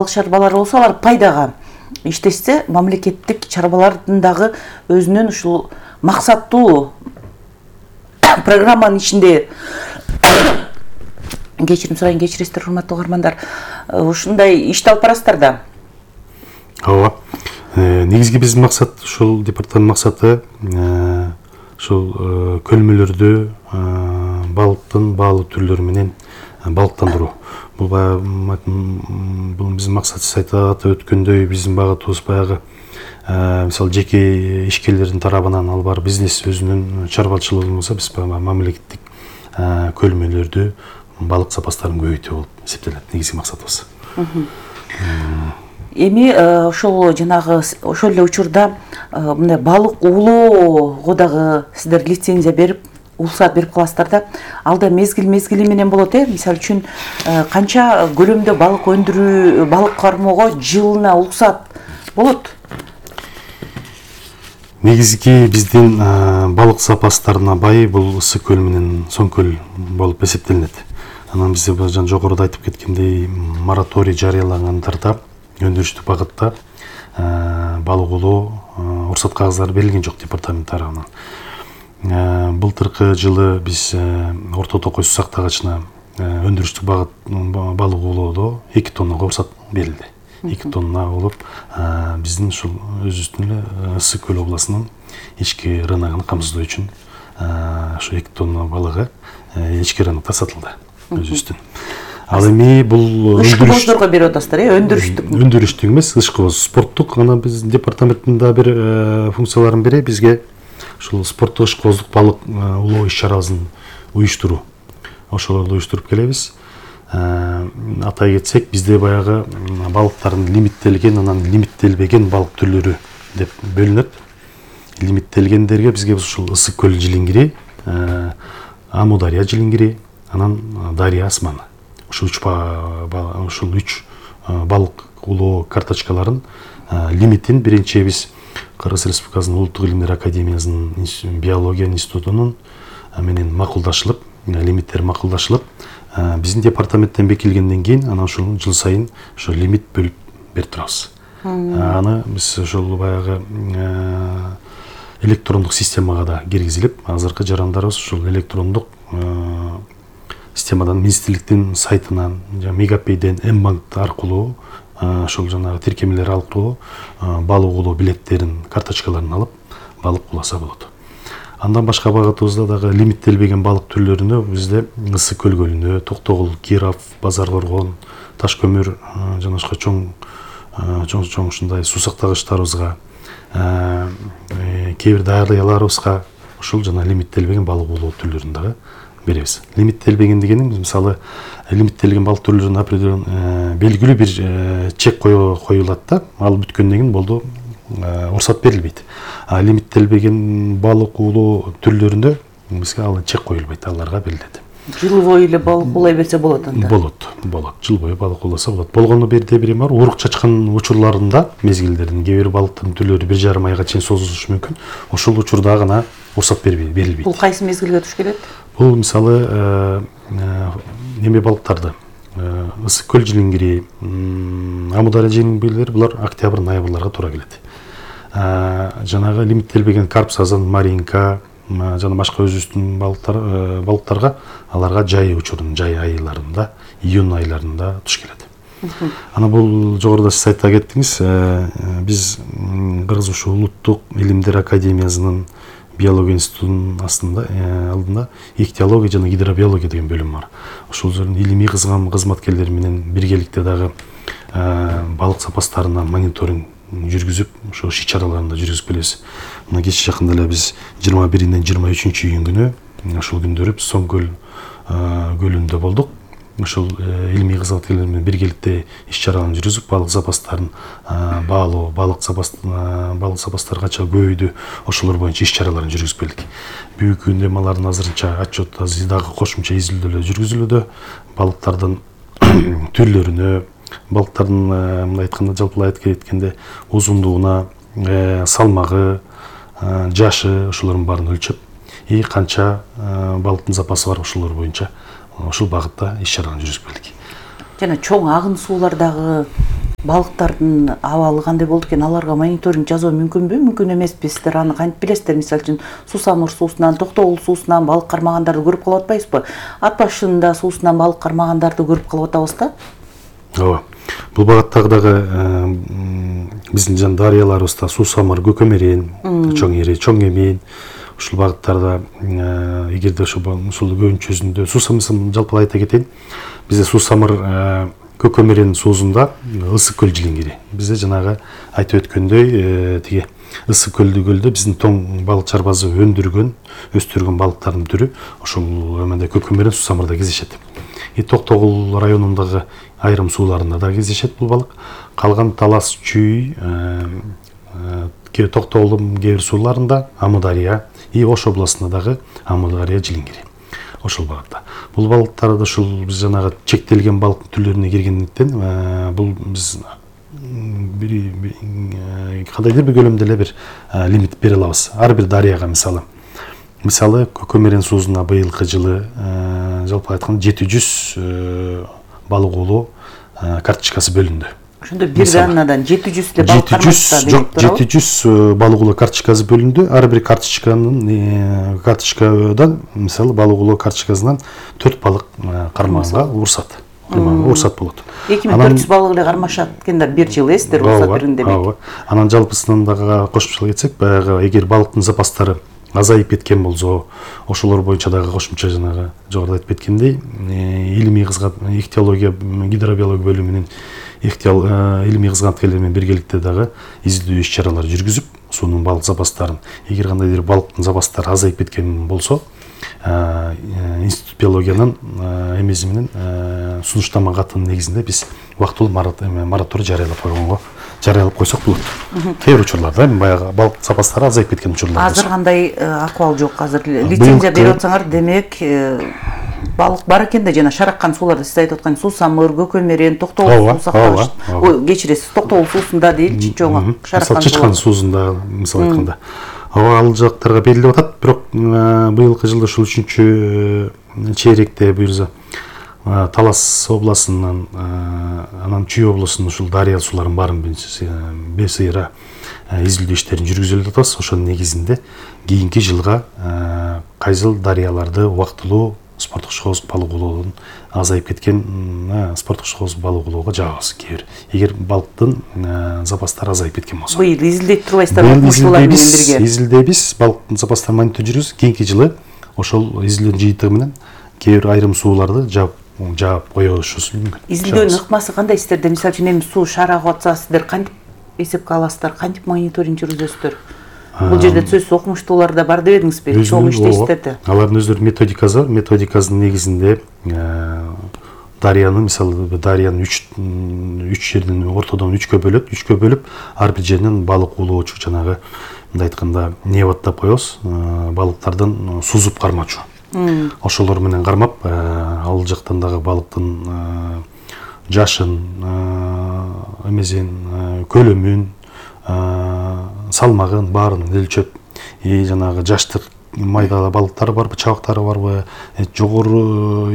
чарбалар болсо алар пайдага иштешсе, мамлекеттик чарбалардын дагы өзүнүн ушул максаттуу программанын ичинде кечирим сурайын, кечиресиздер урматтуу угармандар, ушундай ишти алып барасыздар да. Ооба. Негизги биздин максат, ушул департаменттин максаты ушул көлмөлөрдү балыктын баалуу түрлөрү менен балыктандыруу. Бул биздин максат, сиз айтып өткөндөй, биздин багытыбыз баягы мисалы жеке ишкерлердин тарабынан ал бар бизнес өзүнүн чарбачылыгы болсо, биз мамлекеттик көлмөлөрдү балык запастарын көбөйтүү болуп эсептелет негизги максатыбыз. Эми ошол жанагы ошол эле учурда мындай балык уулоого дагы сиздер лицензия берип, уруксат берип каласыздар да. Алда мезгили менен болот, мисалы үчүн канча көлөмдө балык өндүрүү, балык кармоого жылына уруксат болот? Негизги биздин балык запастарына бай бул Ысык көл менен Соң көл болуп эсептелинет. Анан бизде жогоруда айтып кеткендей мораторий жарыялагандарда өндүрүштүк багытта балык уулоо уруксат кагыздары берилген жок департамент тарабынан. Былтыркы жылы биз Орто Токой суу сактагычына өндүрүштүк багыт балык уулоодо 2 тоннага уруксат берилди. 2 тонна болуп, биздин ушул өзүбүздүн эле Ысык көл областынын ички рыногун камсыздоо үчүн ошо 2 тонна балыгы ички рынокто сатылды өзүбүздүн. Ал эми бул ышкыбоздорго берип атасыздар, өндүрүштүк. Өндүрүштүк эмес, ышкыбоз, спорттук. Анан биздин департаменттин да бир функцияларынын бири бизге ушул спорттук ышкыбоздук балык уулоо иш-чарабызын уюштуруу. Ошол уюштуруп келебиз. Атай кетсек, бизде баягы балыктардын лимиттелген, анан лимиттелбеген балык түрлөрү деп бөлүнөт. Лимиттелгендерге бизге ушул Ысык көл жилиңгири, Амудария жилиңгири, анан Дария асманы. Ушул 3 балык уулоо карточкаларын лимитин биринчи биз Кыргыз Республикасынын Улуттук илимдер академиясынын биология институтунун менен макулдашылып, лимиттер макулдашылып, биздин департаменттен бекилгенден кийин анан ушул жыл сайын ошо лимит бөлүп берип турабыз. Аны биз ошол баягы электрондук системага да киргизилип, азыркы жарандарыбыз ушул электрондук системадан, министрликтин сайтынан, Мегапейден, М-банк аркылуу ошол жанагы тиркемелер аркылуу балык уулоо билеттерин, карточкаларын алып, балык ууласа болот. Андан башка багытыбызда дагы лимиттелбеген балык түрлөрүнө бизде Ысык көл көлүндө, Токтогул, Киров, Базар Коргон, Таш көмүр жана башка чоң ушундай суу сактагычтарыбызга, кээ бир дарыяларыбызга ушул жана лимиттелбеген балык уулоо түрлөрүн дагы беребиз. Лимиттелбеген дегеним, мисалы, лимиттелген балык түрлөрүнө определен белгилүү бир чек коюлат да, ал бүткөндөн кийин болду, уруксат берилбейт. Лимиттелбеген балык уулоо түрлөрүндө бизге ал чек коюлбайт, аларга берилет. Жыл бою эле балык уулай берсе болот анда? Болот. Жыл бою балык ууласа болот. Болгону бирде бир бар, урук чачкан учурларында мезгилдердин кээ бир балыктын түрлөрү 1,5 айга чейин созулушу мүмкүн. Ошол учурда гана уруксат берилбейт. Бул кайсы мезгилге туш келет? Бул мисалы неме балыктарды, Ысык көл жилиңгири, Амудария жилиңгирилер, булар октябрь, ноябрларга туура келет. Жанагы лимиттелбеген карп, сазан, маринка жана башка өзүбүздүн балыктарга аларга жай учурунун, жай айларында, июнь айларында туш келет. Ана бул жогоруда сиз айта кеттиңиз, биз Кыргыз ушул Улуттук илимдер академиясынын биология институтунун алдында ихтиология жана гидробиология деген бөлүм бар. Ошол жердин илимий кызматкерлери менен биргеликте дагы балык запастарына мониторинг жүргүзүп, ошо иш-чараларында жүргүзүп келебиз. Мына кеч жакында эле биз 21-ден 23-июнь күнү ошол күндөрү Соң көл көлүндө болдук. Ошол илимий кызматкерлер менен биргеликте иш-чараларын жүргүзүп, балык запастарын баалоо, балык запастары кача көбөйдү, ошолор боюнча иш-чараларын жүргүзүп келдик. Бүгүнкү күндө алардын азырынча отчет дагы кошумча изилдөөлөр жүргүзүлүүдө. Балыктардын түрлөрүнө, балыктардын мындай айтканда, жалпылай айткенде узундугуна, салмагы, жашы, ошолордун баарын өлчөп, канча балыктын запасы бар, ошолор боюнча ошол багытта иш-чараны жүргүзүп келдик. Жана чоң агын суулардагы балыктардын абалы кандай болду экен, аларга мониторинг жасоо мүмкүнбү, мүмкүн эмеспи? Сиздер аны кантип билесиздер? Мисалы үчүн Сусамыр суусунан, Токтогул суусунан балык кармагандарды көрүп калып атпайбызбы? Ат башында суусунан балык кармагандарды көрүп калып атабыз да. Ооба. Бул багыттагы дагы биздин жан дарыяларыбызда Сусамыр, Көкөмерен, Чоң Эре, Чоң Эмин ушул багыттарда эгерде ушул көбүнчөсүндө Сусамыр жалпы айта кетейин. Бизде Сусамыр Көкөмерен суусунда ысык көл жилиңгири. Бизде жанагы айтып өткөндөй тиги ысык көлдө биздин тоң балык чарбазы өндүргөн, өстүргөн балыктардын түрү ошол эмеде Көкөмерен Сусамырда кездешет. Токтогул районундагы айрым сууларында да кездешет бул балык. Калган Талас, Чүй, Токтогулдун кээ бир сууларында Амудария, Ош областында дагы Амудария жилиңгири. Ошол багытта. Бул балыктарды ушул биз жанагы чектелген балык түрлөрүнө киргендиктен бул биз кандайдыр бир көлөмдө эле бир лимит бере алабыз. Ар бир дарыяга мисалы Көкөмерен суусуна быйылкы жылы жалпы айтканда 700 балык уулоо карточкасы бөлүндү. Ошондо бир данадан 700 эле балык кармашта жок, 700 балык уулоо карточкасы бөлүндү. Ар бир карточкадан мисалы балык уулоо карточкасынан 4 балык кармаганга уруксат болот. 2400 балык эле кармашат экен да бир жыл сиздер уруксат берген демек. Анан жалпысынан дагы кошумчалап кетсек, баягы эгер балыктын запастары азайып кеткен болсо, ошолор боюнча дагы кошумча жанагы жогоруда айтып кеткендей, илимий ихтиология гидробиология бөлүмүнүн илимий кызматкерлери менен биргеликте дагы издөө иш-чаралар жүргүзүп, суунун балык запастарын, эгер кандайдыр балыктын запастары азайып кеткен болсо, институт биологиянын эмеси менен сунуштама катынын негизинде биз убактылуу мораторий жарыялап койсок болот. Кээ бир учурларда баягы балык запастары азайып кеткен учурлар. Азыр кандай акыбал жок? Азыр лицензия берип атсаңар, демек балык бар экен да, жана шараккан сууларда сиз айтып аткан Сусамыр, Көкөмерен, Токтогул суу сактагыч. Кечиресиз, Токтогул суусунда дейли, чоң шараккан чычкан суусунда мисалы айтканда. Ал жактарга берилип атат, бирок быйылкы жылда ушул 3-чейректе буюрса Талас областынан, анан Чүй областынын ушул дарыя сууларын баарын бесыйра изилдөө иштерин жүргүзүп атабыз. Ошонун негизинде кийинки жылга кайсыл дарыяларды убактылуу спорттук шоуз балык уулоодон азайып кеткен спорттук шоуз балык уулоого жаабыз. Эгер балыктын запастары азайып кеткен болсо. Быйыл изилдеп турбайсыздар, окумуштуулар менен бирге. Изилдейбиз, балыктын запастарын мониторинг жүргүзүбүз. Кийинки жылы ошол изилдөөнүн жыйынтыгы менен кээ бир айрым сууларды жаап коебуз мүмкүн. Изилдөөнүн ыкмасы кандай сиздерде? Мисалы үчүн эми суу шарагып атса, сиздер кантип эсепке аласыздар, кантип мониторинг жүргүзөсүздөр? Бул жерде сөзсүз окумуштуулар да бар дебедиңизби? Чоң иштейсиздер да. Алардын өздөрүнүн методикасы бар. Методикасынын негизинде дарыяны мисалы дарыяны 3 жерден ортодон 3кө бөлүп, ар бир жеринен балык уулоочу жанагы мындай айтканда неводдап коебуз. Балыктардан сузуп кармачу. Ошолор менен кармап, ал жактан дагы балыктын жашын, эмесин, көлөмүн, салмагын баарын өлчөп, жанагы жаштык майда балыктары барбы, чабактары барбы, жогору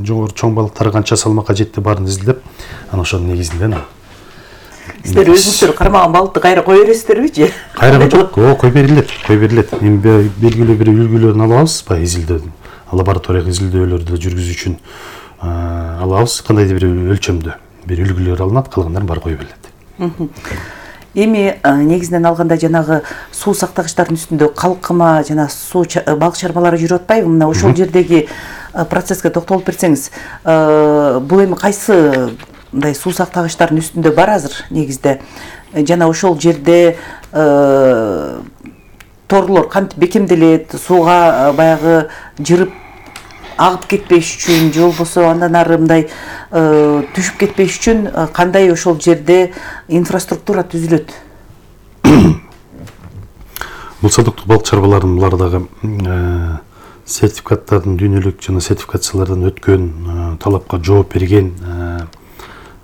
чоң балыктары канча салмакка жетти баарын изилдеп, анан ошонун негизинде сиздер өзүңүздөр кармаган балыкты кайра кое бересиздерби же? Кайра жок, кой берилет. Эми белгилүү бир үлгүлөрүн алабыз, баягы изилдөөдөн. Лабораториялык изилдөөлөрдү жүргүзүү үчүн алабыз, кандайдыр бир өлчөмдө бир үлгүлөр алынат, калгандарын баары кое берилет. Эми негизинен алганда жанагы суу сактагычтардын үстүндө калкыма жана суу балык чарбалары жүрүп атпайбы? Мына ошол жердеги процесске токтолуп берсеңиз, бул эми кайсы мындай суу сактагычтардын үстүндө бар азыр негизде? Жана ошол жерде торлор кантип бекемделет, сууга баягы жырып агып кетпеш үчүн же болбосо андан ары мындай түшүп кетпеш үчүн кандай ошол жерде инфраструктура түзүлөт? Бул садыктуу балык чарбаларын булар дагы сертификаттардын дүйнөлүк жана сертификациялардан өткөн, талапка жооп берген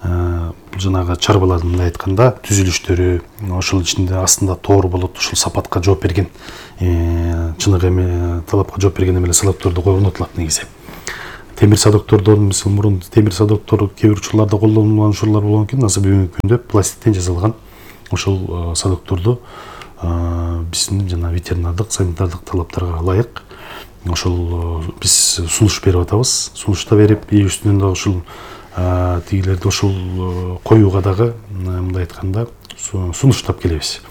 жанагы чарбалардын мындай айтканда түзүлүштөрү, ошол ичинде астында тоор болот, ушул сапатка жооп берген, чыныгы эме талапка жооп берген эмелер салаттарды орнотулат негизи. темир садоктордон, мисалы мурун темир садоктор кээ бир учурларда колдонулган учурлар болгон экен, азыр бүгүнкү күндө пластиктен жасалган ошол садокторду биздин жана ветеринардык, санитардык талаптарга ылайык ошол биз сунуш берип атабыз. Сунушта берип, үстүнөн да ушул тигилерди ошол коюуга дагы мындай айтканда сунуштап келебиз.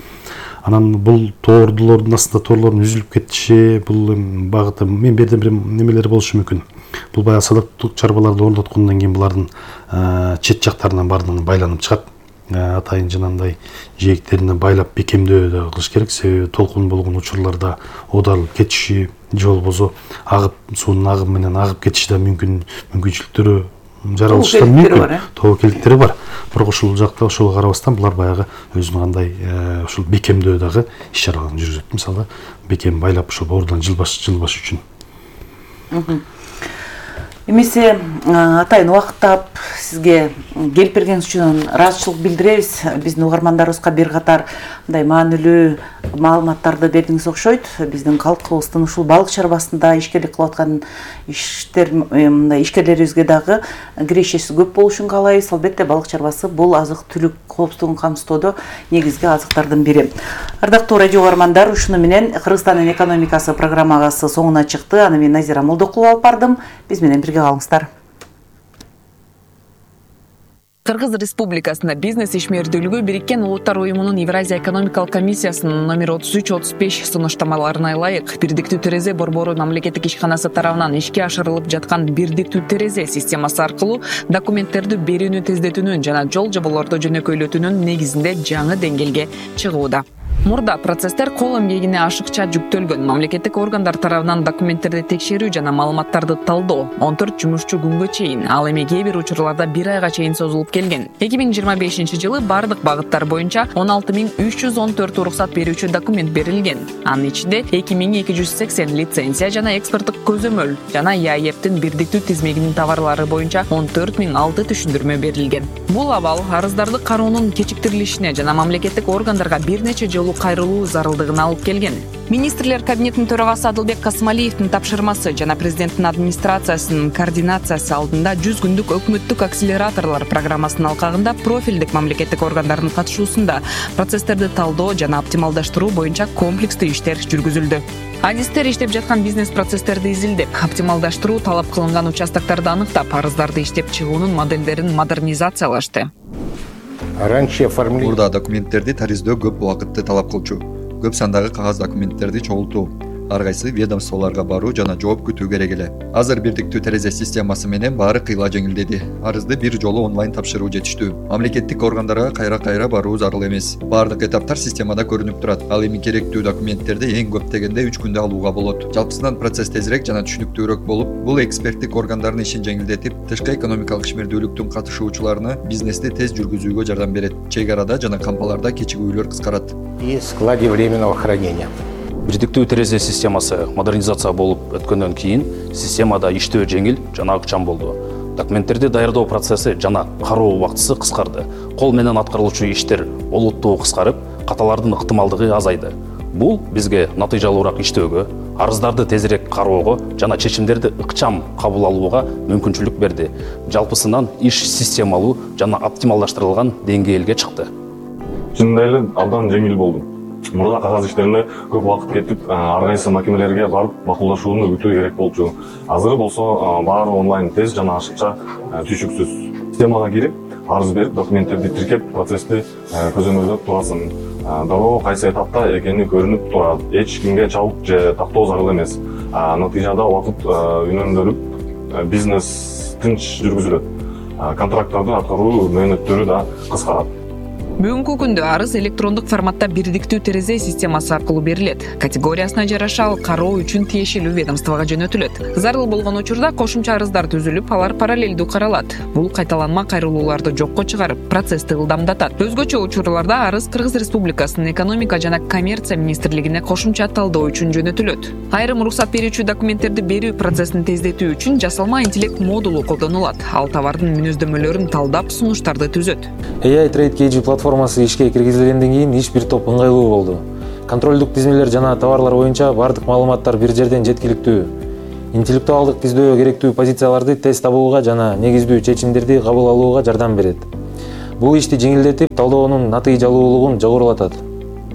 Анан бул тоордулордун астында тоорлордун үзүлүп кетиши, бул багыты мен берден бир немелери болушу мүмкүн. Бул баягы садоктук чарбаларды орноткондон кийин булардын чет жактарынан баардыгы байланып чыгат. Атайын жанагындай жээктерине байлап бекемдөө да кылыш керек. Себеби толкун болгон учурларда оодарылып кетиши же болбосо агып, суунун агымы менен агып кетиши да мүмкүнчүлүктөрү жаралыштар мүмкүн. Тобокелдиктери бар. Бирок ушул жакта ошого карабастан булар баягы өзүнүн кандай ушул бекемдөө дагы иш чараларын жүргүзөт. Мисалы бекем байлап ошол боордон жылбаш үчүн. Эмесе атайын убакыттап сизге келип бергениңиз үчүн ыраазычылык билдиребиз. Биздин угармандарыбызга бир катар мындай маанилүү маалыматтарды бердиңиз окшойт. Биздин калкыбыздын ушул балык чарбасында ишкерлик кылып аткан мындай ишкерлерибизге дагы кирешеси көп болушун каалайбыз. Албетте балык чарбасы бул азык-түлүк коопсуздугун камсыздоодо негизги азыктардын бири. Ардактуу радио угармандар, ушуну менен Кыргызстандын экономикасы программасы соңуна чыкты. Аны мен Назира Молдокулова алып бардым. Биз менен бирге калыңыздар. Кыргыз Республикасында бизнес ишмердүүлүгү Бириккен Улуттар Уюмунун Евразия экономикалык комиссиясынын номер 33-35 сунуштамаларына ылайык бирдиктүү терезе борбору мамлекеттик ишканасы тарабынан ишке ашырылып жаткан бирдиктүү терезе системасы аркылуу документтерди берүүнү тездетүүнүн жана жол жоболорду жөнөкөйлөтүүнүн негизинде жаңы деңгээлге чыгууда. Мурда процесстер кол эмгегине ашыкча жүктөлгөн. Мамлекеттик органдар тарабынан документтерди текшерүү жана маалыматтарды талдоо 14 жумушчу күнгө чейин, ал эми кээ бир учурларда 1 айга чейин созулуп келген. 2025-жылы бардык багыттар боюнча 16314 уруксат берүүчү документ берилген. Анын ичинде 2280 лицензия жана экспорттук көзөмөл жана ЯЭПтин бирдиктүү тизмегинин товарлары боюнча 14006 түшүндүрмө берилген. Бул абал арыздарды кароонун кечиктирилишине жана мамлекеттик органдарга бир нече жолу кайрылуу зарылдыгына алып келген. Министрлер кабинетинин төрагасы Адылбек Касымалиевдин тапшырмасы жана президенттин администрациясынын координациясы алдында 100 күндүк өкмөттүк акселераторлор программасынын алкагында профилдик мамлекеттик органдардын катышуусунда процесстерди талдоо жана оптималдаштыруу боюнча комплекстүү иштер жүргүзүлдү. Адистер иштеп жаткан бизнес процесстерди изилдеп, оптималдаштыруу талап кылынган участокторду аныктап, арыздарды иштеп чыгуунун модельдерин модернизациялашты. Мурда документтерди тариздөө көп убакытты талап кылчу. Көп сандагы кагаз документтерди чогултуу, ар кайсы ведомстволорго баруу жана жооп күтүү керек эле. Азыр бирдиктүү терезе системасы менен баары кыйла жеңилдеди. Арызды бир жолу онлайн тапшыруу жетиштүү. Мамлекеттик органдарга кайра баруу зарыл эмес. Баардык этаптар системада көрүнүп турат. Ал эми керектүү документтерди эң көп дегенде 3 күндө алууга болот. Жалпысынан процесс тезирээк жана түшүнүктүүрөөк болуп, бул эксперттик органдардын ишин жеңилдетип, тышкы экономикалык ишмердүүлүктүн катышуучуларына бизнести тез жүргүзүүгө жардам берет. Чек арада жана кампаларда кечигүүлөр кыскарат. И складе временного хранения. Бирдиктүү терезе системасы модернизация болуп өткөндөн кийин системада иштөө жеңил жана ыкчам болду. Документтерди даярдоо процесси жана кароо убактысы кыскарды. Кол менен аткарылуучу иштер олуттуу кыскарып, каталардын ыктымалдыгы азайды. Бул бизге натыйжалуураак иштөөгө, арыздарды тезирээк кароого жана чечимдерди ыкчам кабыл алууга мүмкүнчүлүк берди. Жалпысынан иш системалуу жана оптималдаштырылган деңгээлге чыкты. Чындап эле абдан жеңил болду. Мурда кагаз иштерине көп убакыт кетип, ар кайсы макинелерге барып макулдашууну күтүү керек болчу. Азыр болсо баары онлайн тез жана ашыкча түшүксүз. Системага кирип, арыз берип, документтерди тиркеп, процессти көзөмөлдөп турасың. Дароо кайсы этапта экени көрүнүп турат. Эч кимге чалып же тактоо зарыл эмес. Натыйжада убакыт үнөмдөрүп, бизнес тынч жүргүзүлөт. Контракттарды аткаруу мөөнөттөрү да кыскарат. Бүгүнкү күндө арыз электрондук форматта бирдиктүү терезе системасы аркылуу берилет. Категориясына жараша ал кароо үчүн тиешелүү ведомствого жөнөтүлөт. Зарыл болгон учурда кошумча арыздар түзүлүп, алар параллелдүү каралат. Бул кайталанма кайрылууларды жокко чыгарып, процессти ылдамдатат. Өзгөчө учурларда арыз Кыргыз Республикасынын экономика жана коммерция министрлигине кошумча талдоо үчүн жөнөтүлөт. Айрым уруксат берүүчү документтерди берүү процессин тездетүү үчүн жасалма интеллект модулу колдонулат. Ал товардын мүнөздөмөлөрүн талдап, сунуштарды түзөт. AI Trade KG платформасы ишке киргизилгенден кийин иш бир топ ыңгайлуу болду. Контролдук тизмелер жана товарлар боюнча бардык маалыматтар бир жерден жеткиликтүү. интеллектуалдык издөө керектүү позицияларды тез табууга жана негиздүү чечимдерди кабыл алууга жардам берет. Бул ишти жеңилдетип, талоонун натыйжалуулугун жогорулатат.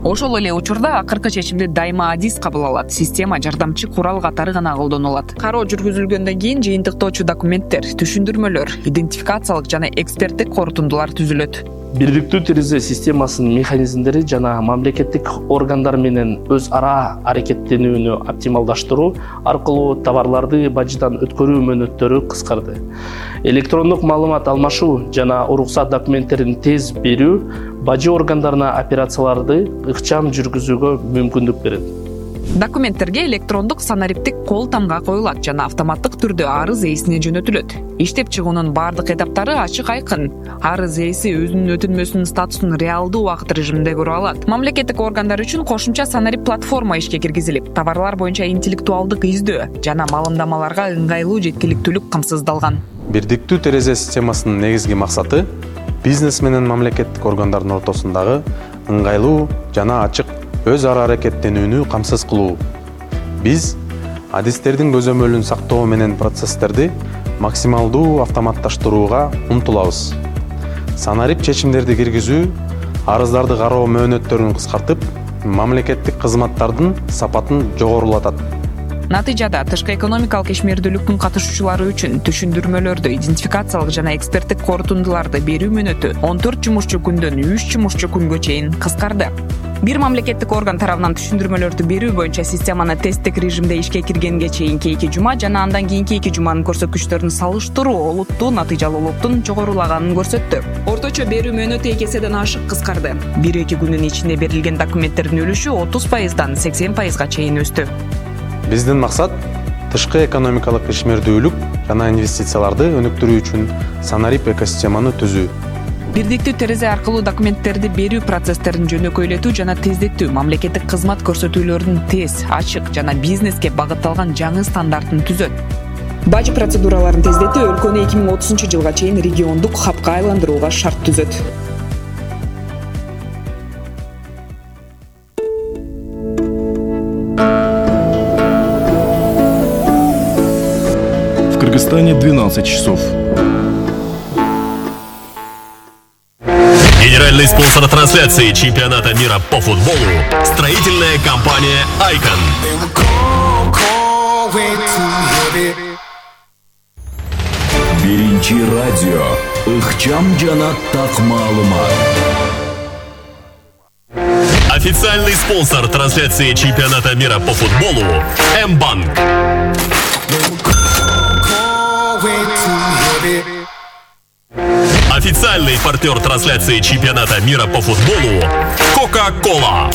Ошол эле учурда акыркы чечимди дайыма адис кабыл алат. Система жардамчы курал катары гана колдонулат. Кароо жүргүзүлгөндөн кийин жыйынтыктоочу документтер, түшүндүрмөлөр, идентификациялык жана эксперттик корутундулар түзүлөт. Бирдиктүү терезе системасынын механизмдери жана мамлекеттик органдар менен өз ара аракеттенүүнү оптималдаштыруу аркылуу товарларды бажыдан өткөрүү мөөнөттөрү кыскарды. Электрондук маалымат алмашуу жана уруксат документтерин тез берүү бажы органдарына операцияларды ыкчам жүргүзүүгө мүмкүндүк берет. Документтерге электрондук санариптик кол тамга коюлат жана автоматтык түрдө арыз ээсине жөнөтүлөт. Иштеп чыгуунун бардык этаптары ачык айкын. Арыз ээси өзүнүн өтүнмөсүнүн статусун реалдуу убакыт режиминде көрө алат. Мамлекеттик органдар үчүн кошумча санарип платформа ишке киргизилип, товарлар боюнча интеллектуалдык издөө жана маалымдамаларга ыңгайлуу жеткиликтүүлүк камсыздалган. Бирдиктүү терезе системасынын негизги максаты бизнес менен мамлекеттик органдардын ортосундагы ыңгайлуу жана ачык өз ара аракеттенүүнү камсыз кылуу. Биз адистердин көзөмөлүн сактоо менен процесстерди максималдуу автоматташтырууга умтулабыз. Санарип чечимдерди киргизүү, арыздарды кароо мөөнөттөрүн кыскартып, мамлекеттик кызматтардын сапатын жогорулатат. Натыйжада тышкы экономикалык ишмердүүлүктүн катышуучулары үчүн түшүндүрмөлөрдү, идентификациялык жана эксперттик корутундуларды берүү мөөнөтү 14 жумушчу күндөн 3 жумушчу күнгө чейин кыскарды. Бир мамлекеттик орган тарабынан түшүндүрмөлөрдү берүү боюнча системаны тесттик режимде ишке киргенге чейинки 2 жума жана андан кийинки 2 жуманын көрсөткүчтөрүн салыштыруу олуттуу натыйжалуулуктун жогорулаганын көрсөттү. Орточо берүү мөөнөтү 2 эседен ашык кыскарды. 1-2 күнүн ичинде берилген документтердин үлүшү 30%дан 80%га чейин өстү. Биздин максат тышкы экономикалык ишмердүүлүк жана инвестицияларды өнүктүрүү үчүн санарип экосистеманы түзүү. Бирдиктүү терезе аркылуу документтерди берүү процесстерин жөнөкөйлөтүү жана тездетүү, мамлекеттик кызмат көрсөтүүлөрүнүн тез, ачык жана бизнеске багытталган жаңы стандартын түзөт. Бажы процедураларын тездетүү өлкөнү 2030-жылга чейин региондук хабка айландырууга шарт түзөт. В Кыргызстане 12 часов. Генеральный спонсор трансляции чемпионата мира по футболу – строительная компания «Айкон». Биринчи радио ыкчам жана так маалымат. Официальный спонсор трансляции чемпионата мира по футболу – М-банк. Официальный партнер трансляции чемпионата мира по футболу – Кока-Кола.